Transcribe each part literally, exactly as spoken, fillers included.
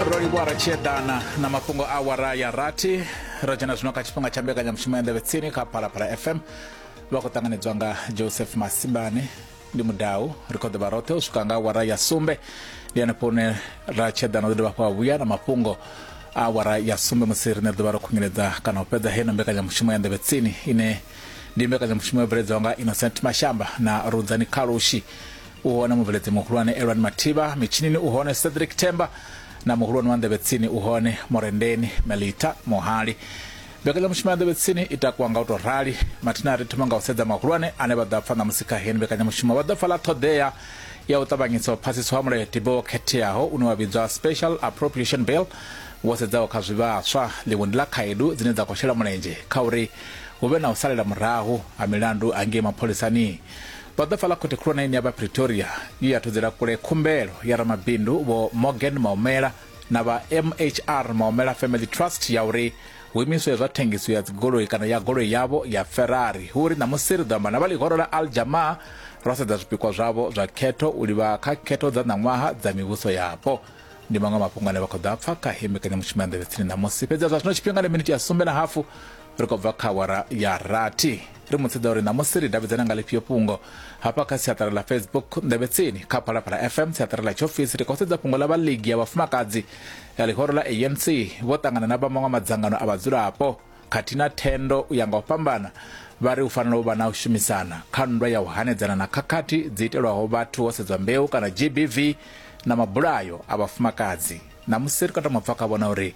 Ro livhuwa ra tshi eḓana na mafhungo a awara ya rathi. Ro dzhena zwino kha tshifhinga tsha mbekanyamushumo ya Nḓevhe Tsini kha Phalaphala F M. Vha khou ṱanganedzwa nga Joseph Masimbane, ndi mudau. Ri khou ḓovha roṱhe u swika nga awara ya sumbe. Ndi hanefho hune ra tshi eḓana u ḓo dovha hafhu vhuya na mafhungo a awara ya sumbe, musi riṋe ri ḓovha ro khunyeledza kana u fhedza heino mbekanyamushumo ya Nḓevhe Tsini, ine ndi mbekanyamushumo yo bveledzwaho nga Innocent Mashamba na Rudzani Khalushi. U hone mubveledzi muhulwane Elwani Mathivha, mitshinini u hone Cedric Themba, na muhulwane wa Nḓevhe Tsini u hone Morendeni Melita Mohali. Mbekanyamushumo ya Nḓevhe Tsini i takuwa nga u tou rali. Mathina ri thoma nga u sedza mahulwane ane vha ḓo pfa ṋamusi kha heni mbekanyamushumo. Vha ḓo pfa ḽa ṱhoḓea ya u ṱavhanyisa u phasiswa ha mulayotibe wo khetheaho une wa vhidzwa Special Appropriation Bill, wo sedzaho kha zwivhaswa. Ḽiṅwe ndi ḽa khaedu dzine dza khou shela mulenzhe kha uri hu vhe na u salela murahu ha milandu hangei mapholisani. Vha ḓo pfa ḽa khothe khulwane ine ya vha Pretoria ye ya thudzela kule khumbelo ya ramabindu Vho Morgan Maumela na vha M H R Maumela Family Trust ya uri hu imiswe zwa thengiso ya dzigoloi kana ya goloi yavho ya Ferrari. Hu uri ṋamusi ri ḓo amba na vha ḽihoro ḽa Al Jamaa ro sedza zwipikwa zwavho zwa khetho u livha kha khetho dza ṋaṅwaha dza mivhuso yapo. Ndi maṅwe mafhungo ane vha khou ḓa pfa kha heyi mbekanyamushumo ya Nḓevhe Tsini ṋamusi. Fhedzi zwa zwino tshifhinga ndi miniti ya sumbe na hafu, ri khou bva kha awara ya rathi. Ri mu sedza uri ṋamusi ri davhidzana nga ḽifhio fhungo hafha kha siaṱari ḽa Facebook Nḓevhe Tsini kha Phalaphala F M, siaṱari ḽa tshiofisi. Ri khou sedza fhungo ḽa vha ligi ya vhafumakadzi ya ḽihoro ḽa A N C vho ṱangana na vha maṅwe madzangano a vhadzulapo khathihi na thendo u ya nga u fhambana. Vha ri u fanela u vha na u shumisana kha nndwa ya u hanedzana na khakhathi dzi itelwaho vhathu ho sedzwa mbeu kana G B V na mabulayo a vhafumakadzi. Ṋamusi ri khou tama u pfa kha vhona uri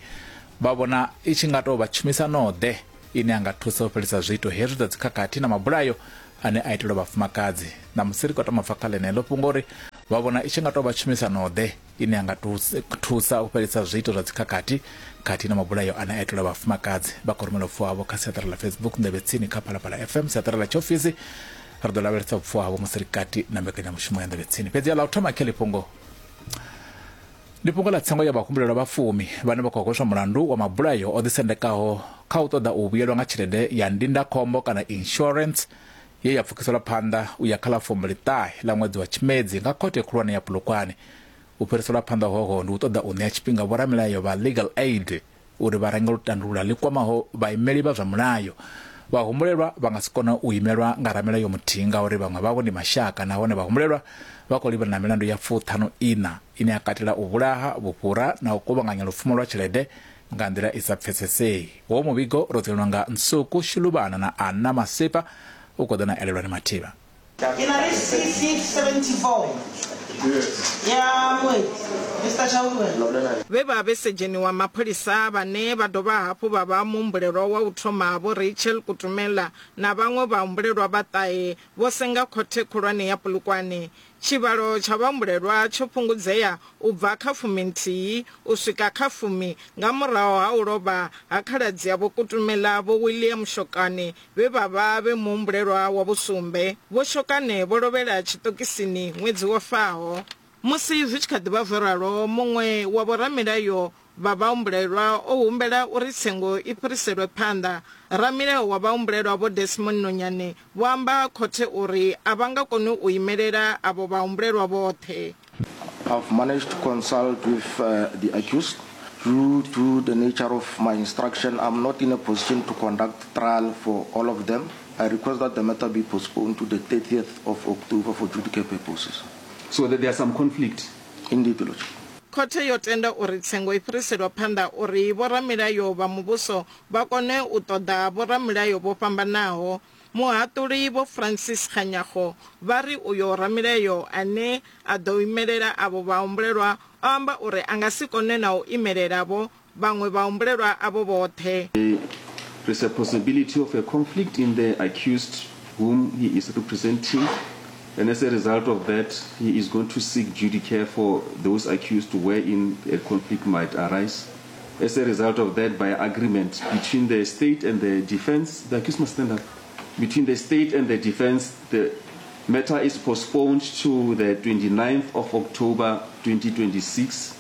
vha vhona i tshi nga tou vha tshumisano-ḓe ine a nga thusa u fhelisa zwiito hezwi zwa dzikhakhathi na mabulayo ane a itelwa vhafumakadzi. Ṋamusi ri khou tama u pfa kha ḽeneḽo fhungo uri vha vhona i tshi nga tou vha tshumisano-ḓe ine a nga thusa u fhelisa zwiito zwa dzikhakhathi khathihi na mabulayo ane a itelwa vhafumakadzi. Vha khou rumela vhupfiwa havho kha siaṱari ḽa Facebook Nḓevhe Tsini kha Phalaphala F M, siaṱari ḽa tshiofisi. Ri ḓo lavhelesa vhupfiwa havho musi ri kati na mbekanyamushumo ya Nḓevhe Tsini. Fhedzi ḽa u thoma khe ḽifhungo ndi fhungo ḽa tsengo ya vhahumbulelwa vha fumi vhane vha khou hweswa mulandu wa mabulayo o ḓisendekaho kha u ṱoḓa u vhuyelwa nga tshelede ya ndindakhombo kana insurance ye ya pfukiselwa phanḓa u ya kha ḽa fumbili ṱahe ḽa ṅwedzi wa Tshimedzi nga khothe khulwane ya Polokwane. U fhiriselwa phanḓa hoho ndi u ṱoḓa u ṋea tshifhinga vhoramilayo vha Legal Aid uri vha range lutandulula ḽi kwamaho vhaimeli vha zwa mulayo. Vhahumbulelwa vha nga si kone u imelwa nga ramilayo muthihi ngauri vhaṅwe vhavho ndi mashaka, nahone vhahumbulelwa vha khou livhana na milandu ya fuṱhanu ina ine ya katela u vhulaha, vhufhura na u kuvhanganya lupfumo lwa tshelede nga nḓila i sa pfesesei. Wo muvhigo ro ḓelwa nga Nsuku Shilubana na Anna Masipa, u khou ḓa na Elelwani Mathivha. Ke na le C C seventy-four ya Moeti, Mister Chaudhary. Vhe vha vhe sedzheni wa mapholisa vhane vha dovha hafhu vha vha muhumbulelwa wa u thoma Vho Rachel Kutumela na vhaṅwe vhahumbulelwa vha ṱahe vho senga khothe khulwane ya Polokwane. Tshivhalo tsha vhahumbulelwa tsho fhungudzea u bva kha fumi nthihi u swika kha fumi nga murahu ha u lovha ha khaladzi ya Vho Kutumela Vho William Shokane vhe vha vha vhe muhumbulelwa wa vhusumbe. Vho Shokane vho lovhela tshiṱokisini ṅwedzi wo faho. Musi zwi tshi kha ḓi vha zwo ralo, muṅwe wa vhoramilayo vha vhahumbulelwa o humbela uri tsengo i fhiriselwe phanḓa. Ramilayo wa vhahumbulelwa Vho Desmond Nonyane vho amba khothe uri a vha nga koni u imelela avho vhahumbulelwa vhoṱhe. I've managed to consult with uh, the accused. Due to the nature of my instruction, I'm not in a position to conduct trial for all of them. I request that the matter be postponed to the thirtieth of October for judicial purposes. So that there are some conflict? Indeed, Lordship. Khothe yo tenda uri tsengo i fhiriselwa phanḓa uri vhoramilayo vha muvhuso vha kone u ṱoḓa vhoramilayo vho fhambanaho. Muhaṱuli Vho Francis Kganyago vha ri uyo ramilayo ane a ḓo imelela avho vhahumbulelwa o amba uri a nga si kone na u imelela vho vhaṅwe vhahumbulelwa avho vhoṱhe. There is a possibility of a conflict in the accused whom he is representing, and as a result of that, he is going to seek judicare for those accused wherein a conflict might arise. As a result of that, by agreement between the state and the defense, the accused must stand up. Between the state and the defense, the matter is postponed to the twenty-ninth of October twenty twenty-six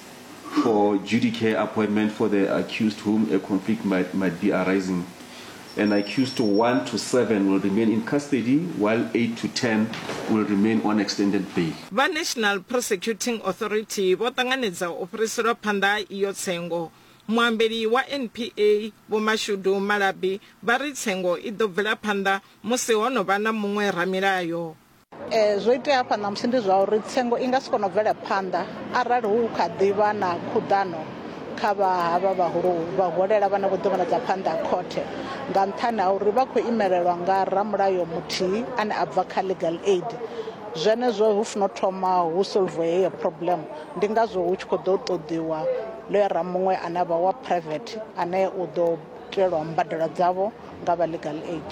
for judicare appointment for the accused whom a conflict might, might be arising. And accused one to seven will remain in custody, while eight to ten will remain on extended bail. Vha National Prosecuting Authority vho ṱanganedza u fhiriselwa phanḓa iyo tsengo. Muambeli wa N P A Vho Mashudu Malabi vha ri tsengo i ḓo bvela phanḓa musi ho no vha na muṅwe ramilayo. Eh zwo itea hafha ṋamusi ndi zwa uri tsengo i nga si kone u bvela phanḓa arali hu kha ḓivha na khuḓano kha vha havha vhahulu vhaholela vhane vho ḓo vhonadza phanḓa khothe nga nṱhani ha uri vha khou imelelwa nga ramulayo muthihi ane a bva kha legal aid. Zwenezwo hu funa thoma hu solve heyo problem, ndi ngazwo hu tshi khou ḓo ṱoḓiwa lawyer muṅwe ane a vha wa private ane u ḓo itelwa mbadelo dzavho nga vha legal aid.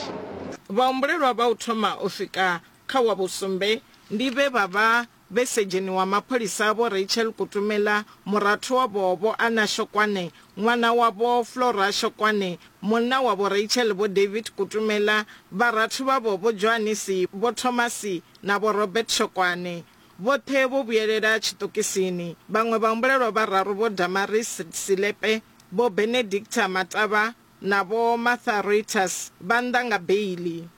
Vhahumbulelwa vha u thoma u swika kha wa vhusumbe ndi vhe vha vha vhe sedzheni wa mapholisa Vho Rachel Kutumela, murathu wavho Vho Anna Shokwane, ṅwana wavho Flora Shokwane, munna wavho Rachel Vho David Kutumela, vharathu vhavho Vho Johannes, Vho Thomas na Vho Robert Shokwane. Vhoṱhe vho vhuyelela tshiṱokisini. Vhaṅwe vhahumbulelwa vhararu Vho Damaris Silepe, Vho Benedicta Matavha na Vho Martha Reuters vha nnḓa nga beili.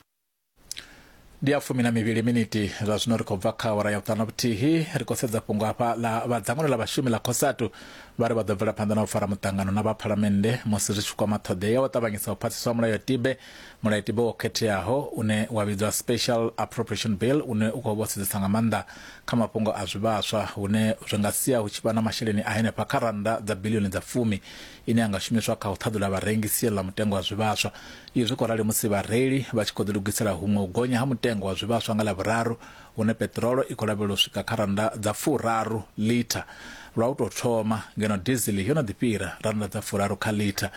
Ndi ya fumi na mivhili miniti zwa zwino ri khou bva kha awara ya vhuṱanu vhuthihi. Ri khou sedza fhungo hafha ḽa vha dzangano ḽa vhashumi ḽa COSATU vha ri vha ḓo bvela phanḓa na u fara muṱangano na vha phalamennde musi zwi tshi kwama ṱhoḓea ya u ṱavhanyisa u phasiswa mulayotibe mulayotibe wo khetheaho une wa vhidzwa Special Appropriation Bill, une u khou vho sedzesa nga maanḓa kha mafhungo a zwivhaswa, hune zwi nga sia hu tshi vha na masheleni a henefha kha rannda dza bilioni dza fumi ine ya nga shumiswa kha u ṱhaḓula vharengi sia ḽa mutengo wa zwivhaswa. Izwi khou rali musi vhareili vha tshi khou ḓilugisela huṅwe u gonya ha mutengo wa zwivhaswa nga Ḽavhuraru, hune peṱirolo i khou lavhelelwa u swika kha rannda dza furaru litha lwa u tou thoma, ngeno diesel yo no ḓi fhira rannda dza furaru kha litha.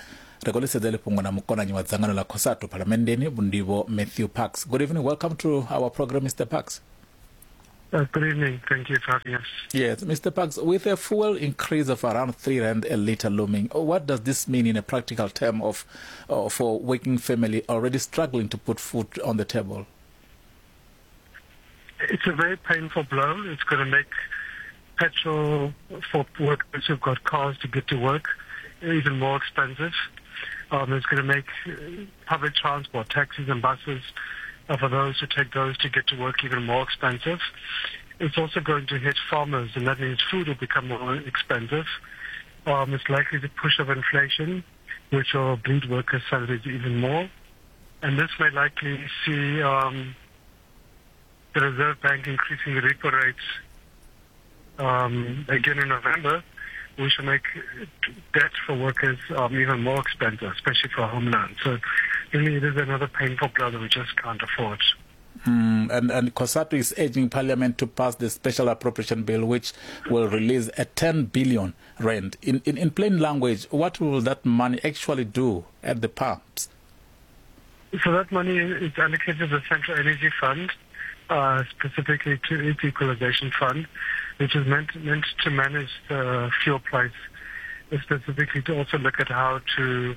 Ri khou ḽi sedza heḽi fhungo na mukonanyi wa dzangano ḽa COSATU phalamenndeni Vho Matthew Parks. Good evening, welcome to our program, Mister Parks. Uh, good evening. Thank you for having us. Yes, Mister Parks, with a fuel increase of around three rand a litre looming, what does this mean in a practical term of uh, for working family already struggling to put food on the table? It's a very painful blow. It's going to make petrol for workers who've got cars to get to work even more expensive. Um, it's going to make public transport, taxis and buses, uh, for those who take those to get to work even more expensive. It's also going to hit farmers, and that means food will become more expensive. Um, it's likely to push up inflation, which will bleed workers' salaries even more. And this may likely see um, the Reserve Bank increasing the repo rates um, again in November, which will make debt for workers um, even more expensive, especially for home loans. So really it is another painful blow that we just can't afford. Mm, and, and COSATU is urging Parliament to pass the Special Appropriation Bill, which will release a ten billion rand. In, in, in plain language, what will that money actually do at the pumps? So that money is allocated to the Central Energy Fund, uh, specifically to its Equalization Fund, which is meant, meant to manage the fuel price, specifically to also look at how to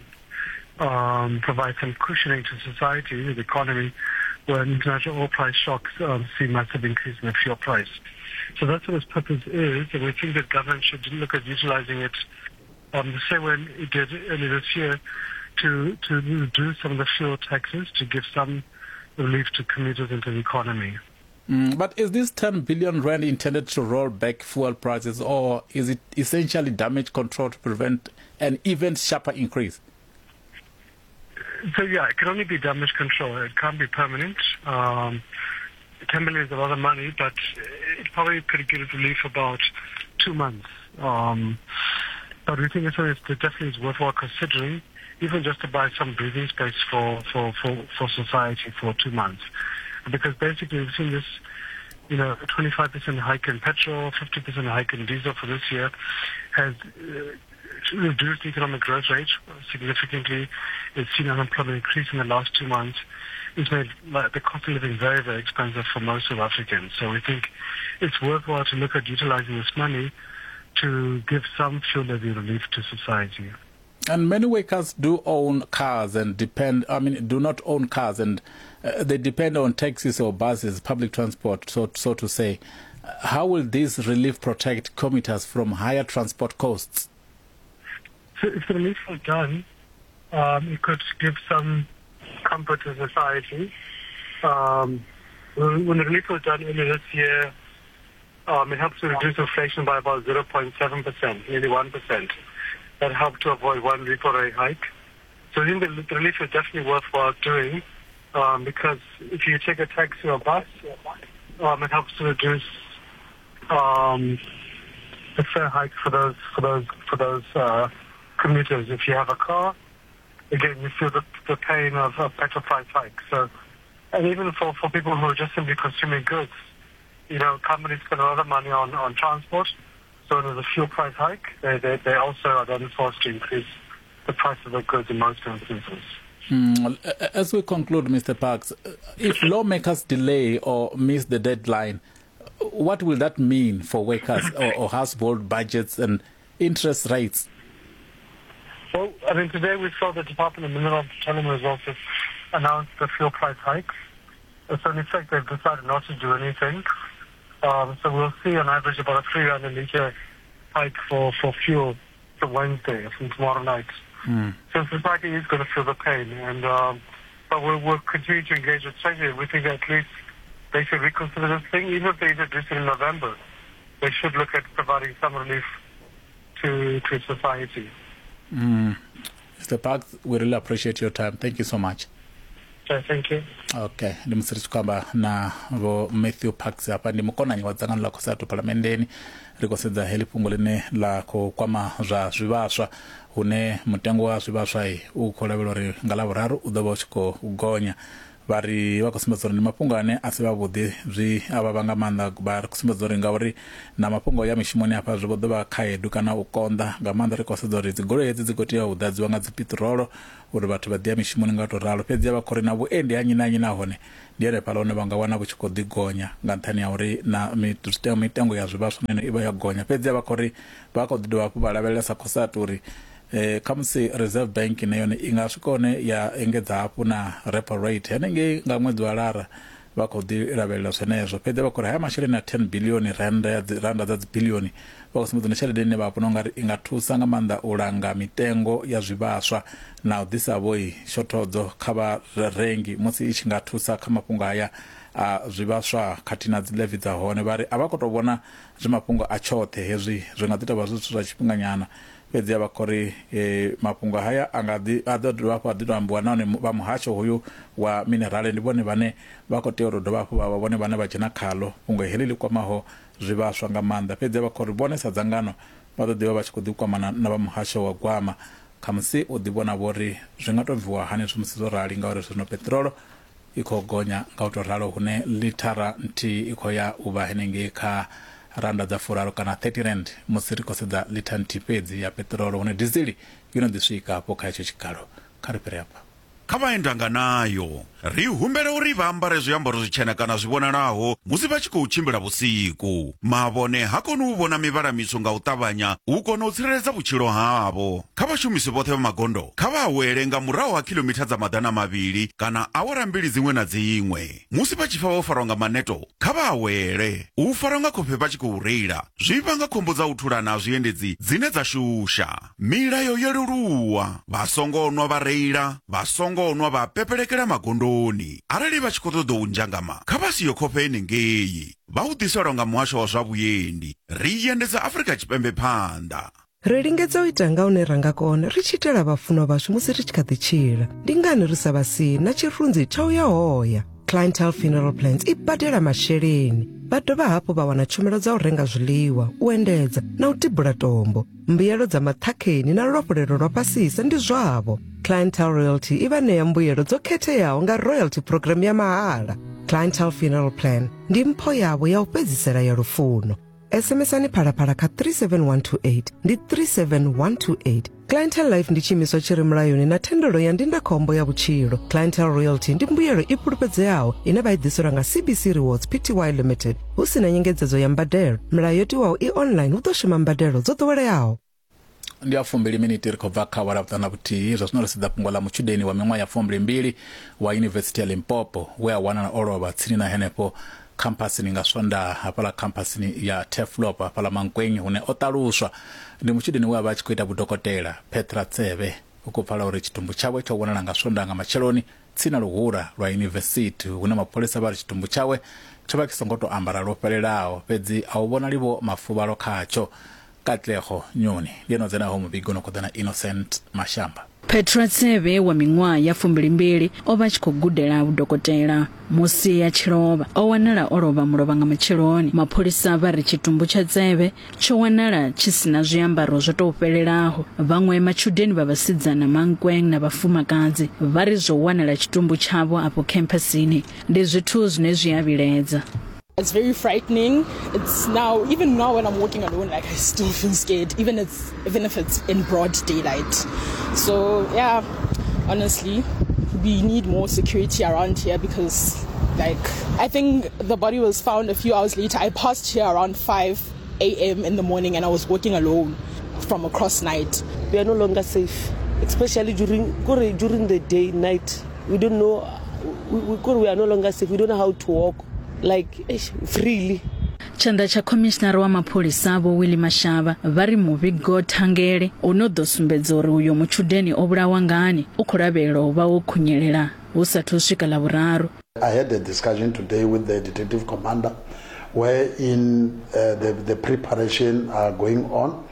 um, provide some cushioning to society, the economy, when international oil price shocks um, see massive increase in the fuel price. So that's what its purpose is, and we think that government should look at utilizing it um, the same way it did earlier this year to, to reduce some of the fuel taxes to give some relief to commuters and to the economy. Mm, but is this ten billion rand intended to roll back fuel prices, or is it essentially damage control to prevent an even sharper increase? So, yeah, it can only be damage control. It can't be permanent. Um, ten billion is a lot of money, but it probably could give relief about two months. Um, but we think it's, it definitely is worthwhile considering, even just to buy some breathing space for, for, for, for society for two months. Because basically we've seen this, you know, twenty-five percent hike in petrol, fifty percent hike in diesel for this year has uh, reduced the economic growth rate significantly. It's seen unemployment increase in the last two months. It's made like, the cost of living very, very expensive for most South Africans. So we think it's worthwhile to look at utilizing this money to give some fuel levy relief to society. And many workers do own cars and depend, I mean, do not own cars, and uh, they depend on taxis or buses, public transport, so, so to say. How will this relief protect commuters from higher transport costs? So if the relief was done, um, it could give some comfort to society. Um, when the relief was done earlier this year, um, it helped to reduce inflation by about zero point seven percent, nearly one percent. That helped to avoid one repo rate hike. So I think the, the relief is definitely worthwhile doing, um, because if you take a taxi or bus, um, it helps to reduce um, the fare hike for those for those for those uh, commuters. If you have a car, again, you feel the, the pain of a petrol price hike. So, and even for, for people who are just simply consuming goods, you know, companies spend a lot of money on, on transport. So when there's a fuel price hike, they, they, they also are then forced to increase the price of the goods in most instances. Mm, as we conclude, Mister Parks, if lawmakers delay or miss the deadline, what will that mean for workers or, or household budgets and interest rates? Well, I mean, today we saw the Department of Mineral and Petroleum Resources announce the fuel price hikes. So in effect, they've decided not to do anything. Um, so we'll see on average about a three rand a litre hike for, for fuel from Wednesday, from tomorrow night. Mm. So society is going to feel the pain, and um, but we'll, we'll continue to engage with Treasury. We think that at least they should reconsider this thing. Even if they introduce it in November, they should look at providing some relief to, to society. Mm. Mister Parks, we really appreciate your time. Thank you so much. Okay, thank you. Okay, ndi musi ri tshi khou amba na vho Matthew Parks hafha, ndi mukonanyi wa dzangano ḽa COSATU phalamenndeni. Ri khou sedza heḽi fhungo ḽine ḽa khou kwama zwa zwivhaswa, hune mutengo wa zwivhaswa u khou lavhelwa uri nga ḽavhuraru u ḓo vha u tshi khou gonya. Vha ri vha khou sumbedza uri ndi mafhungo ane a si vhavhuḓi, zwi a vha nga maanḓa. Vha ri khou sumbedza uri ngauri na mafhungo ya mishumoni hafha zwi vho ḓo vha khaedu kana u konḓa nga maanḓa. Ri khou sedza uri dzigoloi hedzi dzi khou tea u ḓadziwa nga dzi piṱirolo uri vhathu vha ḓi ya mishumoni nga to ralo. Fhedzi vha khou ri na vhuendi ha nnyi na nnyi nahone ndi hanefhaḽa hune vha nga wana vhu tshi khou ḓi gonya nga nṱhani ha uri na mitengo ya zwivhaswa na yone i vha ya gonya. Fhedzi vha khou ri vha khou ḓi dovha hafhu vha lavhelesa COSATU uri eh khamusi Reserve Bank na yone i nga swika hone ya engedza hafhu na repo rate henengei nga ṅwedzi wa Lara. Vha khou ḓi lavhelela zwenezwo. Fhedzi vha khou ri haya masheleni a ten billion rand ya dzi randa dza dzi billion vha khou sumbedza na tshelede ine vha vhona ungari i nga thusa nga maanḓa u langa mitengo ya zwivhaswa na u ḓisa vhoi shothodzo kha vharengi musi i tshi nga thusa kha mafhungo haya a zwivhaswa khathihi na dzi levy dza hone. Vha ri a vha khou tou vhona zwi mafhungo a tshoṱhe hezwi, zwi nga ḓi tou vha zwithu zwa tshifhinganyana. Fhedzi vha khou ri e, mafhungo haya a nga ḓi a ḓo dovha hafhu a ḓi tou ambiwa nahone vha muhasho hoyu wa minerale ndi vhone vhane vha khou tea uri dovha hafhu vha vha vhone vhane vha dzhena khalo fhungo heḽi ḽi kwamaho zwivhaswa nga maanḓa. Fhedzi vha khou ri vhone sa dzangano vha ḓo ḓivha vha tshi khou ḓi kwamana na vha muhasho wa gwama, khamusi u ḓi vhona vhori zwi nga tou bviwa hani zwi musi zwo rali, ngauri zwino peṱirolo i khou gonya nga u tou ralo, hune lithara nthihi i khou ya u vha henengei kha randa dza furaru kana thirty rand musi ri khou sedza litha nthihi fhedzi ya peṱirolo, hune dizili yo no ḓi swika hafho kha hetsho tshikalo. Kha ri fhire hafha. Kha vhaendanga nayo ri humbela uri vha ambare zwiambaro zwitshena kana zwi vhonalaho musi vha tshi khou tshimbila vhusiku. Mavhone ha koni u vhona mivhala mitswu nga u ṱavhanya u kona u tsireledza vhutshilo havho. Kha vhashumisi vhoṱhe vha magondo kha vha awele nga murahu ha khilomitha dza maḓana mavhili kana awara mbili dziṅwe na dziṅwe. Musi vha tshi pfa vho farwa nga maneto kha vha awele. U farwa nga khofhe vha tshi khou reila zwi vhanga khombo dza u thulana ha zwiendedzi dzine dza shusha. Milayo yo leluwa, vha songo nwa vha reila, vha songo nwa vha pepelekela magondoni. Arali vha tshi khou ṱoḓa u nzhangama kha vha siyo khofhe henengei. Vha u ḓiselwa nga muhasho wa zwa vhuendi. Ri endedza Afrika Tshipembe phanḓa. Ri lingedza u ita nga hune ra nga kona ri tshi itela vhafunwa vhashu musi ri tshi kha ḓi tshila. Ndi ngani ri sa vha sii na tshirunzi tsha u ya hoya? Clientele Funeral Plans i badela masheleni. Vha dovha hafhu vha wana tshumelo dza u renga zwiḽiwa, u endedza na u tibula tombo. Mbuyelo dza maṱhakheni na luafhulelo lwa fhasisa ndi zwavho. Clientele Royalty i vha ṋea mbuyelo dzo khetheaho nga royalty program ya mahala. Clientele Funeral Plan ndi mpho yavho ya u fhedzisela ya lufuno. S M S-ani Phalaphala kha three seven one two eight ndi three seven one two eight. Clientele Life ndi tshiimiswa tshi re mulayoni na thendelo ya ndindakhombo ya vhutshilo. Clientele Royalty ndi mbuyelo i fhulufhedzeaho ine vha i ḓiselwa nga C B C Rewards P T Y Limited hu si na nyengedzedzo ya mbadelo. Milayo yo tiwaho i online hu ḓo shuma mbadelo dzo ḓoweleaho. Ndi a fumbili miniti ri khou bva kha awara vhuṱanu na vhuthihi. Zwa zwino ri sedza fhungo ḽa mutshudeni wa miṅwaha ya fumbili mbili wa Yunivesithi ya Limpopo we a wanala o lovha tsini na henefho khamphasini nga Swondaha hafhaḽa khamphasini ya Turfloop hafhaḽa Mankweng, hune o ṱaluswa ndi mutshudeni we a vha a tshi khou ita vhudokotela Petra Tsebe. U khou pfala uri tshitumbu tshawe tsho vhonala nga Swondaha nga matsheloni tsini na luhura lwa yunivesithi hune mapholisa vha ri tshitumbu tshawe tsho vha tshi songo tou ambara lwo fhelelaho, fhedzi a u vhonali vho mafuvhalo khatsho. Katlego Nyoni ndi ene o dzenaho muvhigo no khou ḓa na Innocent Mashamba. Petra Tsebe wa miṅwaha ya fumbilimbili o vha tshi khou gudela vhudokotela musi a tshi lovha. O wanala o lovha mulovha nga matsheloni. Mapholisa vha ri tshitumbu tsha Tsebe tsho wanala tshi si na zwiambaro zwo tou fhelelaho. Vhaṅwe matshudeni vha vhasidzana Mankweng na vhafumakadzi vha ri zwo wanala tshitumbu tshavho afho campusini. Ndi zwithu zwine zwi a vhilaedza. It's very frightening. It's now, even now when I'm walking alone, like I still feel scared, even it's even if it's in broad daylight. So yeah, honestly, we need more security around here because, like, I think the body was found a few hours later. I passed here around five a m in the morning and I was walking alone from across night. We are no longer safe, especially during during the day, night. We don't know, we, we, we are no longer safe. We don't know how to walk, like, freely. Tshanḓa tsha khomishinari wa mapholisa Vho Willie Mashaba vha ri muvhigo thangele u no ḓo sumbedza uri uyo mutshudeni o vhulawa ngani u khou lavhelelwa u vha wo khunyelela hu sathu swika Ḽavhuraru. I had a discussion today with the detective commander wherein uh, the, the preparation are going on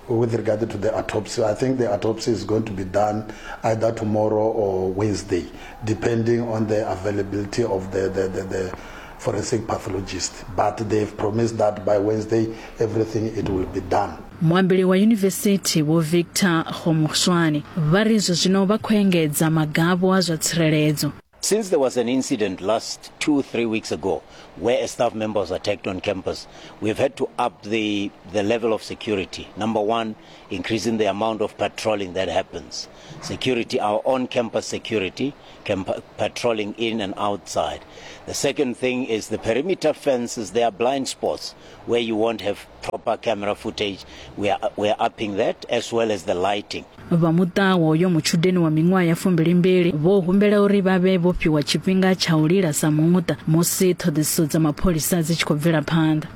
with regard to the autopsy. I think the autopsy is going to be done either tomorrow or Wednesday, depending on the availability of the, the, the, the forensic pathologist. But they've promised that by Wednesday, everything it will be done. Muambeli wa yunivesithi Vho Victor Kgomoeswana vha ri zwo zwino vha khou engedza magavho a zwa tsireledzo. Since there was an incident last two, three weeks ago where a staff member was attacked on campus, we've had to up the, the level of security. Number one, increasing the amount of patrolling that happens. Security, our on-campus security, camp- patrolling in and outside. The second thing is the perimeter fences, there are blind spots where you won't have proper camera footage. We are, we are upping that, as well as the lighting. Vha muṱa wa uyo mutshudeni wa miṅwaha ya fumbilimbili vho humbela uri vha vhe vho fhiwa tshifhinga tsha u lila sa muṱa musi ṱhoḓisiso dza mapholisa dzi tshi khou bvela phanḓa.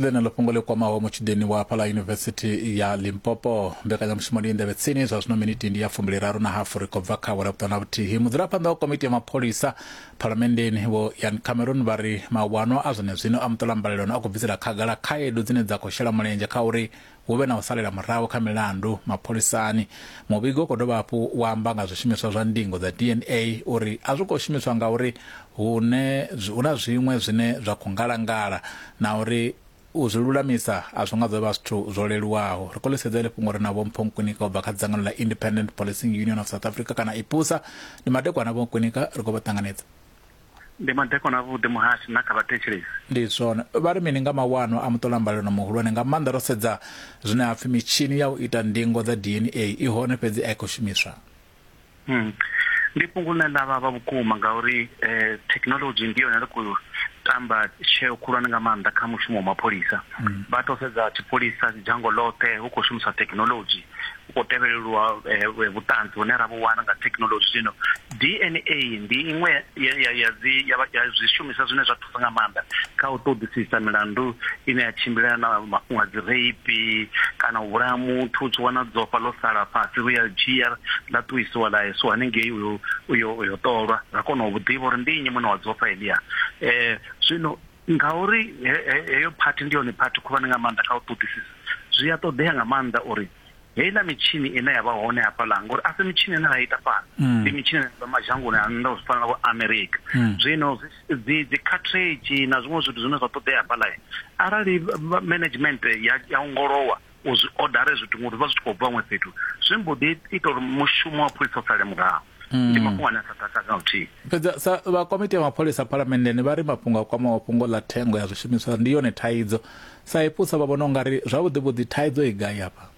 Ḽeneḽo fhungo ḽi kwamaho mutshudeni wa fhaḽa Yunivesithi ya Limpopo. Mbekanyamushumo ndi nḓevhe tsini zwa zwino miniti ndi ya fumbiliraru na hafu ri khou bva kha awara vhuṱanu na vhuthihi. Mudzulaphanḓa wa komiti ya mapholisa phalamenndeni Vho Ian Cameron vha ri mawanwa a zwenezwino a muṱolambalelano a khou bvisela khagala khaedu dzine dza khou shela mulenzhe kha uri hu vhe na u salela murahu kha milandu mapholisani. Muvhigo u khou dovha hafhu wa amba nga zwishumiswa zwa ndingo dza D N A uri a zwi khou shumiswa ngauri hune hu na zwiṅwe zwine zwa khou ngalangala na uri u zwi lulamisa a zwi nga ḓo vha zwithu zwo leluwaho. Ri khou ḽi sedza fhungo ri na Vho Mpho Nkwinika u bva kha dzangano ḽa Independent Policing Union of South Africa kana IPUSA. Ndi madekwana Vho Nkwinika, ri khou vha ṱanganedza. Ndi madekwana avhuḓi muhashi na kha vhathetshelesi. Ndi zwone. Vha ri mini nga mawanwa a muṱolambalelo muhulwane, nga maanḓa ro sedza zwine ha pfi mitshini ya u ita ndingo dza D N A i hone fhedzi a i khou shumiswa? Hmm. Ndi fhungo ḽine ḽa vhavha vhukuma ngauri eh, technology ndi yone ri khou tamba tsheo khulwane nga maanḓa kha mushumo wa mapholisa. Vha to sedza tshipholisa dzhango ḽoṱhe hu khou shumiswa technology, hu khou tevhelelwa vhuṱanzi hune ra vhu wana nga technology. Zwino D N A ndi iṅwe ya ya ya ya zwishumiswa zwine zwa thusa nga maanḓa kha u ṱoḓisisa milandu ine ya tshimbilelana na mafhungo a dzi rape kana u vhulaya muthu. U tshi wana dzofha ḽo sala fhasi ri ya dzhia ḽa ṱuwisiwa ḽa iswa haningei uyo uyo uyo ṱolwa ra kona u ḓivha uri ndi nnyi muṋe wa dzofha heḽia. Eh zwino ngauri heyo party ndi yone party khulwane nga maanḓa kha u ṱoḓisisa, zwi a ṱoḓea nga maanḓa uri heiḽa mitshini ine ya vha hone hafhaḽa, ngori a si mitshini ine ra ita fhano, ndi mitshini ine ya mashangoni a nnḓa u fana na vho America. Zwino dzi dzi cartridge na zwiṅwe zwithu zwine zwa ṱoḓea hafhaḽa, arali management ya ya ongolowa u zwi odare zwithu ngori vha zwi tshi khou bva huṅwe fhethu, zwi mbo ḓi ita uri mushumo wa pholisa u sale murahu. Ndi mafhungo ane a sa takadza na luthihi. Fhedzi sa vha komiti ya mapholisa phalamenndeni vha ri mafhungo a kwamaho fhungo ḽa thengo ya zwishumiswa ndi yone thaidzo. Sa IPUSA vha vhona ungari zwavhuḓi vhuḓi thaidzo i gai hafha?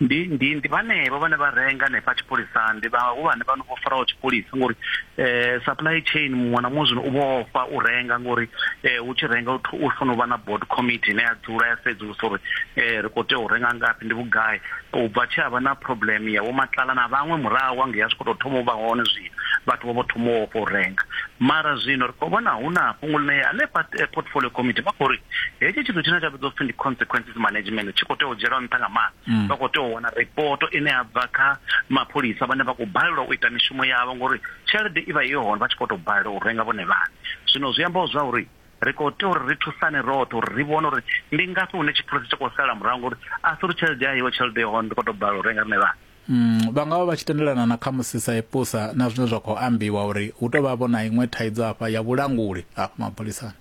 Ndi ndi ndi vhanevho vhane vha renga hanefha tshipholisani, ndi vhahulwane vha no vho faraho tshipholisa, ngori eh supply chain muṅwe na muṅwe zwino u vhofha u renga, ngori eh u tshi renga u fanela u vha na board committee ine ya dzula ya sedzulusa uri eh ri khou tea u renga ngafhi, ndi vhugai. U bva tshi havha na problem ya vho Matlala na vhaṅwe murahu hangei a zwi khou tou thoma u vha hone zwino, Vhathu vho vho thoma u ofha u renga. Mara zwino ri khou vhona hu na fhungo ḽine hanefha portfolio committee vha khou ri hetshi tshithu tshine tsha vhidzwa upfhi ndi consequences management tshi khou tea u dzhielwa nṱha nga maanḓa. Vha khou tea u wana report ine ya bva kha mapholisa vhane vha khou balelwa u ita mishumo yavho ngori tshelede i vha i hone vha tshi khou tou balelwa u renga vhone vhaṋe. Zwino zwi amba zwa uri ri khou tea uri ri thusane roṱhe uri ri vhone uri ndi ngafhi hune tshipholisa tshi khou sala murahu ngori a si uri tshelede ya iwe tshelede i hone ndi khou tou balelwa u renga riṋe vhaṋe. Mm, vha nga vha vha tshi tendelana na khamusi sa ipusa na zwine zwa khou ambiwa uri hu tou vha vho na iṅwe thaidzo hafha ya vhulanguli hafha mapholisani.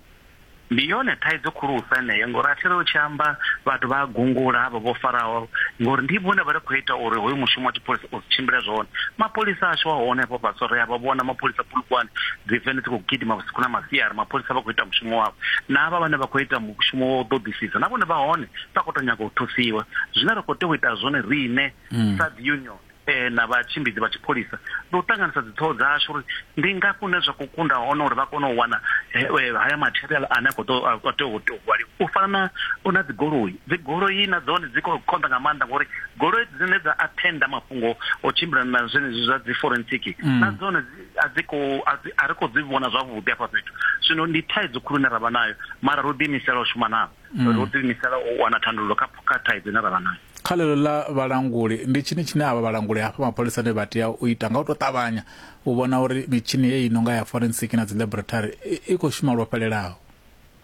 Ndi yone thaidzo khulusa eneyo ngori a thi ri u tshi amba vhathu vha gungula havha vho faraho ngori ndi vhone vha ri khou ita uri hoyu mushumo wa tshipholisa u si tshimbile zwone. Mapholisa ashu a hone hafho fhasi ri a vha vhona mapholisa Polokwane dzi vene dzi khou gidima vhusiku na masiari, mapholisa vha khou ita mushumo wavho na havha vhane vha khou ita mushumo wa u ṱoḓisisa na vhone vha hone vha khou tou nyaga u thusiwa. Zwine ra khou tea u ita zwone riṋe sa dzi union eh na vhatshimbidzi vha tshipholisa ndi u ṱanganisa dziṱhoho dzashu uri ndi ngafhi hune zwa khou kunda hone uri vha kone u wana haya material ane a khou tea u hwaliwa. U fana na na dzigoloi, dzigoloi na dzone dzi khou konḓa nga maanḓa ngori goloi dzine dza attenda mafhungo o tshimbila na zwenezwi zwa dzi forensic na dzone a dzi khou a ri khou dzi vhona zwavhuḓi hafha fhethu. Zwino ndi thaidzo khulu ine ra vha nayo mara ro ḓiimisela u shuma navho, ro ḓiimisela u wana thandululo kha kha thaidzo ine ra vha nayo. Kha ḽeḽo ḽa vhalanguli ndi tshini tshine avha vhalanguli hafha mapholisani vha tea u ita nga u tou ṱavhanya u vhona uri mitshini heyi no nga ya forensic na dzi laboratory i khou shuma lwo fhelelaho?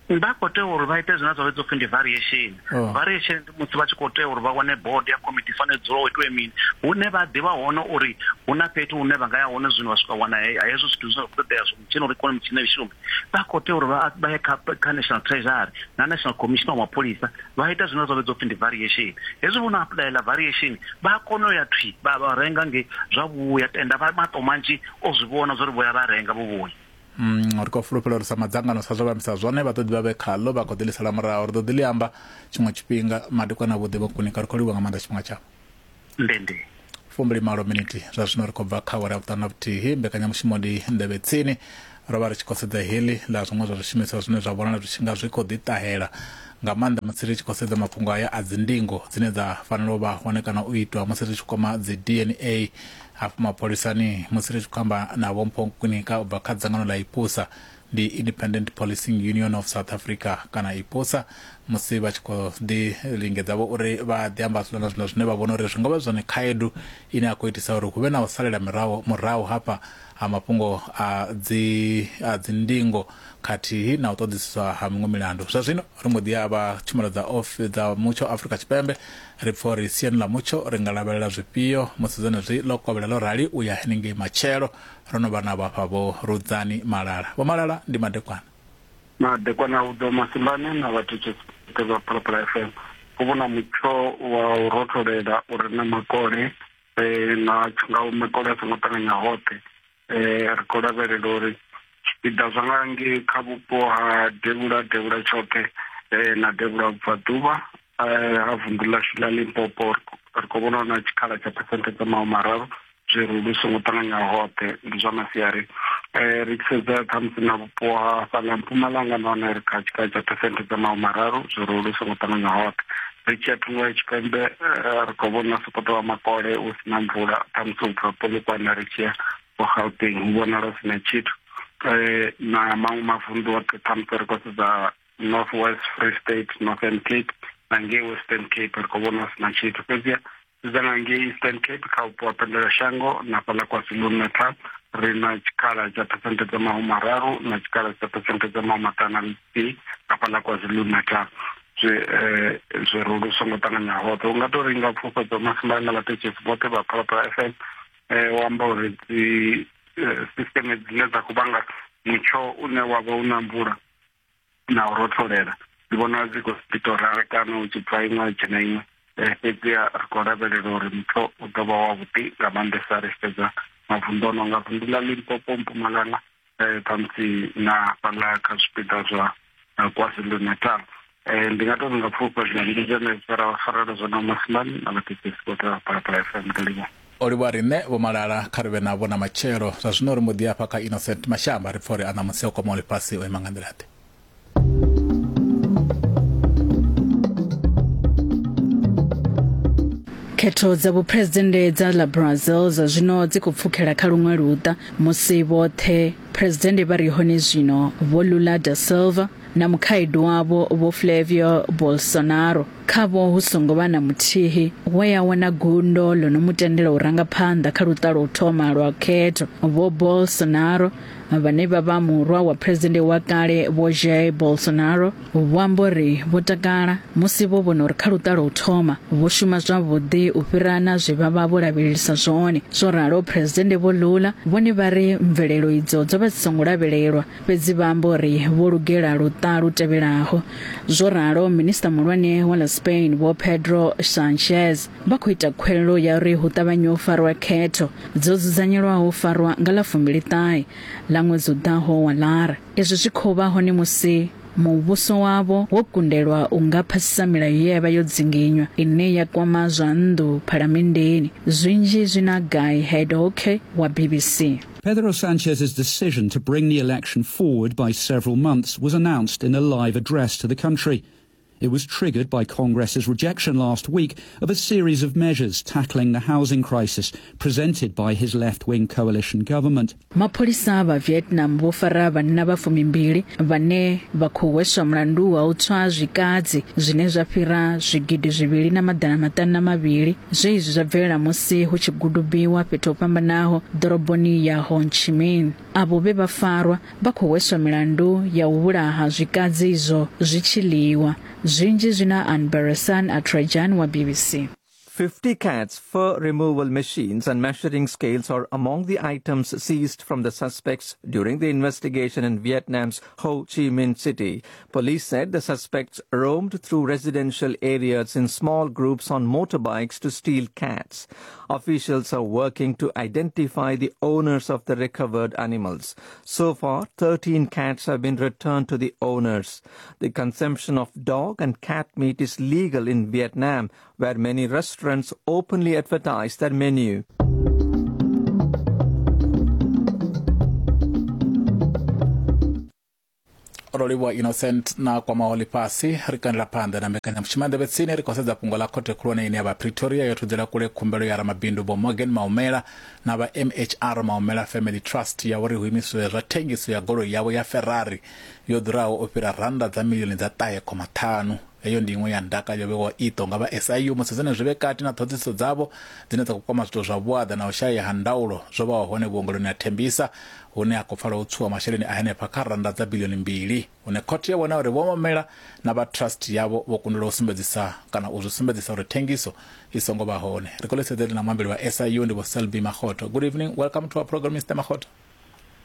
Vha khou tea uri vha ite zwine zwa vhidzwa upfhi ndi variation. Oh. Variation ndi musi vha tshi khou tea uri vha wane board ya committee fanela dzula u itiwe mini hune vha ḓivha hone uri hu na fhethu hune vha nga ya hone zwino vha swika wana hezwo zwithu zwine zwa khou ṱoḓea zwo mutshini uri kone mitshini i shume. Vha khou tea uri vha ye kha National Treasury na National Commission wa mapholisa vha ita zwine zwa vhidzwa upfhi ndi variation. Hezwi vho no apuḽayela variation vha kona u ya thwi vha vha renga nge zwa vhuya tenda vha maṱo manzhi o zwi vhona zwa uri vho ya vha renga vho vhuya. Mm, ri khou fulufhela uri sa madzangano sa zwo vhambisa zwone vha ḓo ḓi vha vhe khaḽo vha khou ḓi ḽisela murahu. Ri ḓo ḓi ḽi amba tshiṅwe tshifhinga. Madekwana avhuḓi vho Kunika, ri khou livhuwa nga maanḓa tshifhinga tshavho. Ndende fumbili malo miniti zwa zwino ri khou bva kha awara ya vhuṱanu na vhuthihi. Mbekanyamushumo ndi Nḓevhe Tsini. Ro vha ri tshi khou sedza heḽi ḽa zwiṅwe zwa zwishumiswa zwine zwa vhonala zwi tshi nga zwi khou ḓi ṱahela nga maanḓa musi ri tshi khou sedza mafhungo aya a dzindingo dzine dza fanela u vha hone kana u itwa musi ri tshi kwama dzi D N A hafha mapholisani. Musi ri tshi khou amba na Vho Mpho Nkunika u bva kha dzangano ḽa IPUSA, ndi Independent Policing Union of South Africa kana IPUSA, musi vha tshi khou ḓi lingedza vho uri vha ḓi amba zwiḽa na zwiḽa zwine vha vhona uri zwi nga vha zwone khaedu ine ya khou itisa uri hu vhe na u salela murahu murahu hafha ha mafhungo a dzi a dzindingo khathihi na u ṱoḓisiswa ha miṅwe milandu. Zwa zwino ri mbo ḓi ya vha tshumelo dza off dza mutsho Afrika Tshipembe ri pfha uri siani ḽa mutsho ri nga lavhelela zwifhio musi zwenezwi ḽo kovhela ḽo rali u ya henengei matshelo. Ro no vha navho hafha Vho Rudzani Malala. Vho Malala, ndi madekwana. Madekwana u ḓo Masimbane na vhathetshelesi vha Phalaphala F M. Hu vhona mutsho wa u rotholela u re na makole na nga makole a songo ṱanganya hoṱhe. Ri khou lavhelela uri zwipiḓa zwa nga ngei kha vhupo ha devhula devhula tshoṱhe na devhula vhubvaḓuvha ha vunḓu ḽashu ḽa Limpopo ri khou vhona na tshikhala tsha phesenthe dza mahumi mararu zwirulu songo ṱanganya hoṱhe ndi zwa masiari. Ri tshi sedza ṱhamusi na vhupo ha fhaḽa Mpumalanga nahone ri kha tshikhala tsha phesenthe dza mahumi mararu zwirulu songo ṱanganya hoṱhe. Ri tshi ya thungo ya tshipembe ri khou vhona sokoto wa makole u si na mvula ṱhamusi u bva Polokwane ri tshi ya vho Gauteng hu vhonala hu si na tshithu. Na maṅwe mavunḓu oṱhe ṱhamusi ri khou sedza North West, Free State, Northern Cape na ngei Western Cape ri khou vhona hu si na tshithu. Fhedziha sedza nga ngei Eastern Cape kha vhupo ha Pendela-Shango na fhaḽa KwaZulu-Natal ri na tshikhala tsha phesenthe dza mahumi mararu na tshikhala tsha phesenthe dza mahumi maṱanu na nthihi nga fhaḽa KwaZulu-Natal. Zwi zwirulu songo ṱanganya hoṱhe. U nga tou ri nga pfufhedzo Masimbane na vhathetshelesi vhoṱhe vha Phalaphala F M o amba uri dzi sisteme dzine dza khou vhanga mutsho une wa vha u na mvula na u rotholela ndi vhona dzi khou ḓi tou rarekana hu tshi bva iṅwe ha dzhena iṅwe. Fhedziha ri khou lavhelela uri mutsho u ḓo vha wavhuḓi nga maanḓesa ri tshi sedza mavunḓu o no nga vunḓu ḽa Limpopo, Mpumalanga ṱhamusi na fhaḽa kha zwipiḓa zwa KwaZulu-Natal. Ndi nga tou nga pfufha ndi zwone zwe ra farela zwone Masimbane na vhathetshelesi vhoṱhe vha Phalaphala F M. Ndi livhuwa. O livhuwa riṋe Vho Malala, kha ri vhe navho na matshelo. Zwa zwino ri mbo ḓi hafha kha Innocent Mashamba ri pfha uri a ṋamusi o kwamaho ḽifhasi o ima nga nḓila-ḓe. Khetho dza vhuphuresidennde dza ḽa Brazil zwa zwino dzi khou pfukhela kha luṅwe luṱa musi vhoṱhe phuresidennde vha re hone zwino Vho Lula da Silva na mukhaedu wavho Vho Flavio Bolsonaro khavho hu songo vha na muthihi we a wana gundo ḽo no mu tendela u ranga phanḓa kha luṱa lwa u thoma lwa khetho. Vho Bolsonaro vhane vha vha murwa wa phuresidennde wa kale Vho Jair Bolsonaro vho amba uri vho takala musi vho vhona uri kha luṱa lwa u thoma vho shuma zwavhuḓi u fhira na zwe vha vha vho lavhelelisa zwone. Zwo ralo phuresidennde Vho Lula vhone vha ri mvelelo idzo dzo vha dzi songo lavhelelwa, fhedzi vha amba uri vho lugela luṱa lu tevhelaho. Zwo ralo minista muhulwane wa ḽa Spain Vho Pedro Sanchez vha khou ita khuwelelo ya uri hu ṱavhanye u farwa khetho dzo dzudzanyelwaho u farwa nga ḽa fumbili ṱahe ḽa ṅwedzi u ḓaho wa Lara. Izwi zwi khou vha hone musi muvhuso wavho wo kundelwa u nga phasisa milayo ye ya vha yo dzinginywa ine ya kwama zwa nnḓu phalamenndeni. Zwinzhi zwi na Guy Hedhoke wa B B C. Pedro Sanchez's decision to bring the election forward by several months was announced in a live address to the country. It was triggered by Congress's rejection last week of a series of measures tackling the housing crisis presented by his left-wing coalition government. Mapholisa vha Vietnam vho fara vhanna vha fumimbili vhane vha khou hweswa mulandu wa u tswa zwikadzi zwine zwa fhira zwigidi zwivhili na maḓana maṱanu na mavhili zwe izwi zwa bvelela musi hu tshi gudubiwa fhethu ho fhambanaho ḓoroboni ya Ho Chi Minh. Avho vhe vha farwa vha khou hweswa milandu ya u vhulaha zwikadzi izwo zwi tshi ḽiwa. Zwinzhi zwi na Anbarasan Atrajan wa B B C. fifty cats, fur removal machines and measuring scales are among the items seized from the suspects during the investigation in Vietnam's Ho Chi Minh City. Police said the suspects roamed through residential areas in small groups on motorbikes to steal cats. Officials are working to identify the owners of the recovered animals. So far, thirteen cats have been returned to the owners. The consumption of dog and cat meat is legal in Vietnam, where many restaurants openly advertise their menu. Rolivhuwa Innocent na kwamaho ḽifhasi ri kandela phanḓa na mbekanyamushumo ya Nḓevhe Tsini. Ri khou sedza fhungo ḽa khothe khulwane ine ya vha Pretoria yo thudzela kule khumbelo ya ramabindu Vho Morgan Maumela na vha M H R Maumela Family Trust ya uri hu imiswe zwa thengiso ya goloi yavho ya Ferrari yo ḓuraho u fhira rannda dza milioni dza ṱahe khoma ṱhanu. Heyo ndi iṅwe ya ndaka yo vhewaho iṱo nga vha S I U musi zwenezwi vhe kati na ṱhoḓisiso dzavho dzine dza khou kwama zwithu zwa vhuaḓa na u shaya ha ndaulo zwo vhaho hone vhuongeloni ha Tembisa, hune ha khou pfala u tswiwa masheleni a henefha kha rannda dza bilioni mbili, hune khothe ya vhona uri Vho Maumela na vha trust yavho vho kundelwa u sumbedzisa kana u zwi sumbedzisa uri thengiso i songo vha hone. Ri khou ḽisedzele na muambeli wa S I U ndi Vho Selby Makgotho. Good evening, welcome to our program, Mister Makgotho.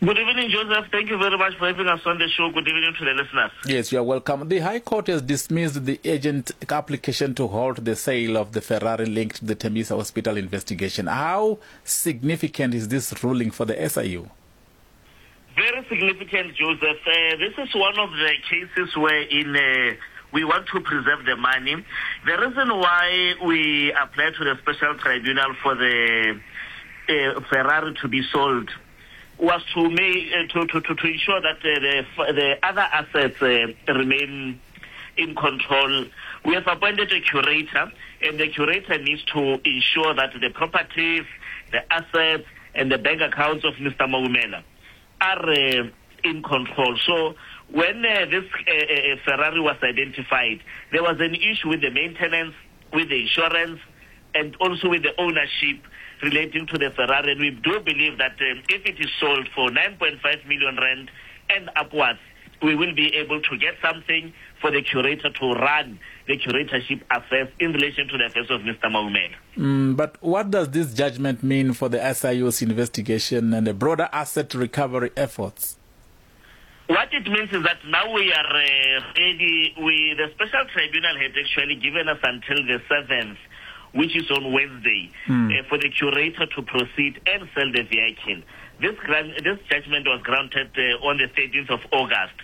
Good evening, Joseph. Thank you very much for having us on the show. Good evening to the listeners. Yes, you are welcome. The High Court has dismissed the urgent application to halt the sale of the Ferrari linked to the Tembisa Hospital investigation. How significant is this ruling for the S I U? Very significant, Joseph. Uh, this is one of the cases where in uh, we want to preserve the money. The reason why we applied to the special tribunal for the uh, Ferrari to be sold was to make, uh, to, to, to, to ensure that uh, the, the other assets uh, remain in control. We have appointed a curator, and the curator needs to ensure that the properties, the assets, and the bank accounts of Mister Maumela are uh, in control. So when uh, this uh, uh, Ferrari was identified, there was an issue with the maintenance, with the insurance, and also with the ownership relating to the Ferrari. And we do believe that um, if it is sold for nine point five million rand and upwards, we will be able to get something for the curator to run the curatorship affairs in relation to the affairs of Mister Maumela. Mm, but what does this judgment mean for the S I U's investigation and the broader asset recovery efforts? What it means is that now we are uh, ready. We, the special tribunal had actually given us until the seventh, which is on Wednesday, mm. uh, for the curator to proceed and sell the vehicle. This grant, this judgment was granted uh, on the thirteenth of August.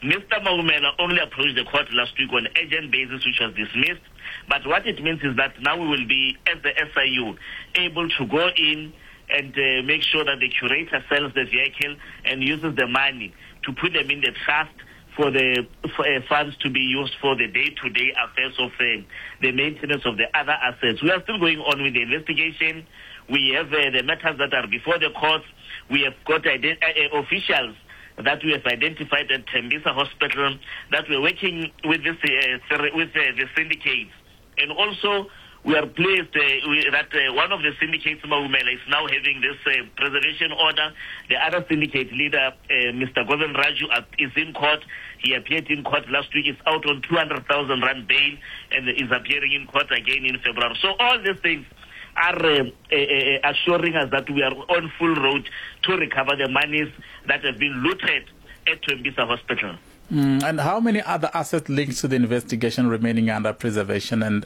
Mister Maumela only approached the court last week on urgent basis, which was dismissed. But what it means is that now we will be, as the S I U, able to go in and uh, make sure that the curator sells the vehicle and uses the money to put them in the trust for the for, uh, funds to be used for the day-to-day affairs of uh, the maintenance of the other assets. We are still going on with the investigation. We have uh, the matters that are before the courts. We have got ident- uh, officials that we have identified at Tembisa Hospital that we're working with this uh, with uh, the syndicates. And also, we are pleased uh, we, that uh, one of the syndicates, Maumela, is now having this uh, preservation order. The other syndicate leader, uh, Mister Govind Raju, uh, is in court. He appeared in court last week. Is out on two hundred thousand rand bail and is appearing in court again in February. So all these things are uh, uh, uh, assuring us that we are on full road to recover the monies that have been looted at Tembisa Hospital. Mm, and how many other assets linked to the investigation remaining under preservation, and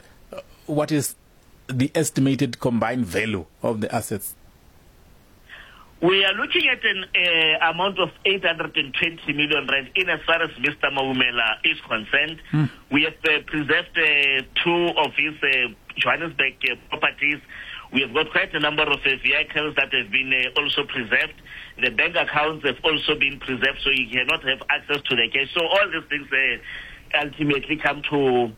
what is the estimated combined value of the assets? We are looking at an uh, amount of eight hundred twenty million rand in as far as Mister Maumela is concerned. Mm. We have uh, preserved uh, two of his uh, Johannesburg uh, properties. We have got quite a number of uh, vehicles that have been uh, also preserved. The bank accounts have also been preserved, so you cannot have access to the cash. So all these things uh, ultimately come to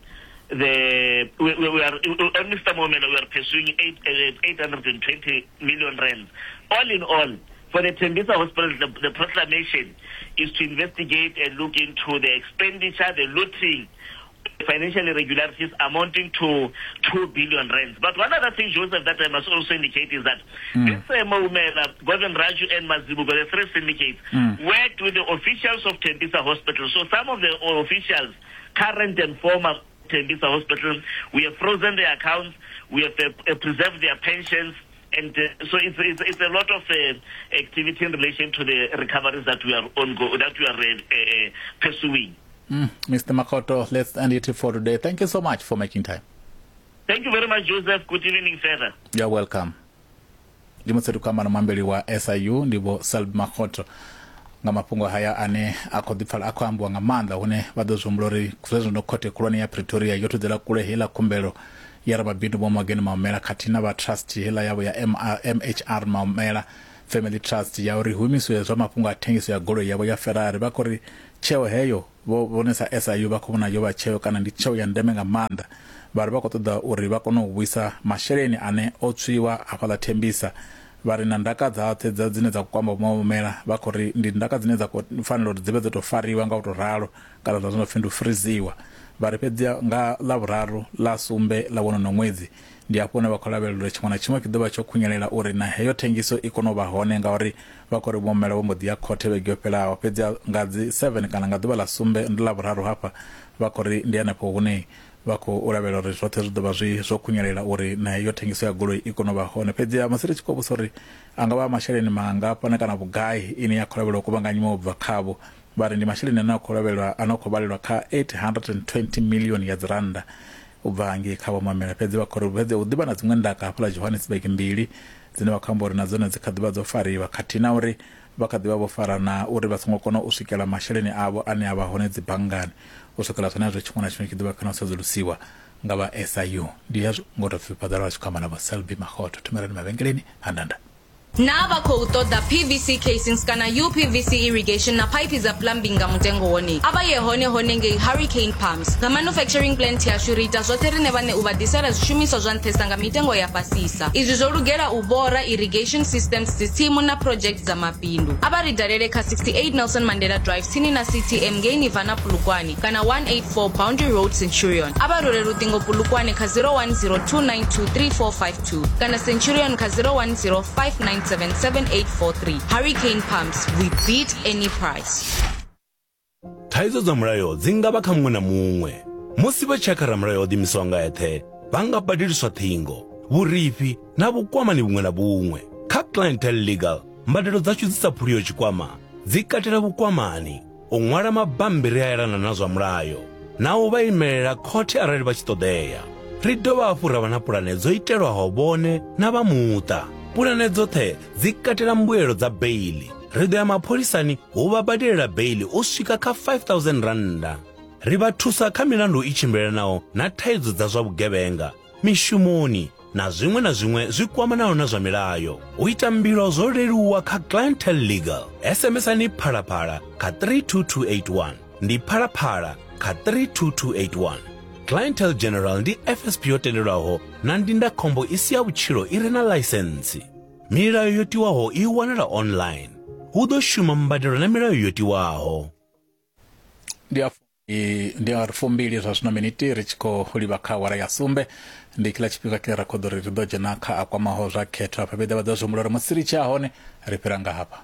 the we, we, we are on Mister Maumela, we are pursuing eight, uh, eight hundred twenty million rand. All in all, for the Tembisa Hospital, the, the proclamation is to investigate and look into the expenditure, the looting, financial irregularities amounting to two billion rands. But one other thing, Joseph, that I must also indicate is that mm. this uh, Maumela, Govind Raju and Mazibuko, the three syndicates, mm. worked with the officials of Tembisa Hospital. So some of the officials, current and former Tembisa Hospital, we have frozen their accounts, we have uh, preserved their pensions, and uh, so it's, it's, it's a lot of uh, activity in relation to the recoveries that we are ongo- that we are uh, uh, pursuing. Mm, Mister Makgotho, let's end it for today. Thank you so much for making time. Thank you very much, Joseph. Good evening, further. You're welcome. Ndi mutsedu kwa mano mwambeli wa S I U ndibo Selby Makgotho nga mafhungo haya ane a khou ḓipfala a khou ambiwa nga maanḓa hune vha ḓo zwi humbula uri zwezwo khothe khulwane ya Pretoria yo thudzela kule heiḽa khumbelo ya ramabindu Vho Morgan Maumela khathihi na vha trust heiḽa yavho ya M H R Maumela Family Trust ya uri humiswe zwa mafhungo a thengiso ya goloi yavho ya Ferrari. Vha khou ri tsheo heyo vho vhonesa S I U vha khou vhona yo vha tsheo kana ndi tsheo ya ndeme nga maanḓa. Vha ri vha khou ṱoḓa uri vha kone u vhuisa masheleni ane o tswiwa hafhaḽa Tembisa. Vha ri na ndaka dzaṱhe dza dzine dza kwamba Maumela vha khou ri ndi ndaka dzine dza fanela uri dzi vhe dzo tou fariwa nga u tou ralo kana zwa zwino pfhi ndi u friziwa. Vha ri fhedzi nga ḽavhuraru ḽa sumbe ḽa wonono ṅwedzi ndi hafho hune vha khou lavhelela uri tshiṅwe na tshiṅwe tshi ḓo vha tsho khunyelela uri na heyo thengiso i kone u vha hone, ngauri vha khou ri Maumela vho mbo ḓi ya khothe vhege yo fhelaho. Fhedzi nga dzi seven kana nga ḓuvha ḽa sumbe ndi ḽavhuraru hafha vha khou ri ndi hanefho hune vha khou lavhelela uri zwoṱhe zwi ḓo vha zwi zwo khunyelela uri na heyo thengiso ya goloi i kone u vha hone. Fhedzi musi ri tshi khou vhudzisa uri a nga vha masheleni mangafhani kana vhugai ine ya khou lavhelelwa u kuvhanganyiwa u bva khavho, vha ri ndi masheleni ane a khou lavhelelwa a no khou vhalelwa kha eight hundred twenty million ya dzi rannda u bva ngei kha Vho Maumela. Fhedzi vha khou ri fhedzi hu ḓivha na dziṅwe ndaka hafhaḽa Johannesburg mbili dzine vha khou amba uri na dzone dzi kha ḓivha dzo fariwa, khathihi na uri vha kha ḓivha vho fara na uri vha songo kona u swikela masheleni avho ane a vha hone dzi banngani. U swikela zwenezwo tshiṅwe na tshiṅwe tshi ḓo vha khona u sedzulusiwa nga vha S I U. Ndi hezwo ngo tou pfhi phaḓalala tshi khou amba na Vho Selby Makgotho. Thumelani mavhengeleni handanda. Na vha khou ṱoḓa P V C casings kana U P V C irrigation na pipe dza plumbing nga mutengo wone, a vha ye hone hone ngei Hurricane Pumps. Nga manufacturing plant yashu ri ita zwoṱhe rine vhane u vha ḓisela zwishumiswa zwa nṱhesa nga mitengo ya fhasisa. Izwi zwo lugela u bora irrigation systems, dzitsimu na project dza mabindu. A vha ri dalele kha sixty-eight Nelson Mandela Drive tsini na C T M ngei Nirvana Polokwane kana one eighty-four Boundary Road Centurion. A vha role luṱingo Polokwane kha zero one zero two nine two three four five two kana Centurion kha zero one zero five nine seven seven eight four three. Hurricane Pumps, we beat any price. Thaidzo dza mulayo dzi nga vha kha muṅwe na muṅwe. Musi vha tshi ya kha ramulayo o ḓiimisaho nga eṱhe, vha nga badeliswa ṱhingo, vhurifhi na vhukwamani vhuṅwe na vhuṅwe. Kha Clientele Legal, mbadelo dzashu dzi sa phuliho tshikwama dzi katela vhukwamani, u ṅwala mabambiri a elana na zwa mulayo, na u vha imelela khothe arali vha tshi ṱoḓea. Ri dovha hafhu ra vha na pulane dzo itelwaho vhone na vha muṱa. Pulane dzoṱhe dzi katela mbuelo dza beili. Ri ḓo ya mapholisani hu vha badelela beili u swika kha five thousand randa. Ri vha thusa kha milandu i tshimbilelanaho na thaidzo dza zwa vhugevhenga, mishumoni na zwiṅwe na zwiṅwe zwi kwamanaho na zwa milayo. U ita mbilo zwo leluwa kha Clientele Legal. S M S ani Phalaphala kha three two two eight one. Ndi Phalaphala kha three two two eight one. Clientele General ndi F S P yo tendelwaho na ndindakhombo i si ya vhutshilo i re na ḽaisentsi. Milayo yo tiwaho i wanala online. Hu ḓo shuma mbadelo na milayo yo tiwaho. Ndi a ndi a fumbili zwa zwino miniti ri tshi khou livha kha awara ya sumbe. Ndi kila tshifhinga kile ra khou ḓo ri ri ḓo dzhena kha a kwamaho zwa khetho afha vhe ḓa vha ḓo zwi humbula uri musi ri tshi ya hone ri fhira nga hafha.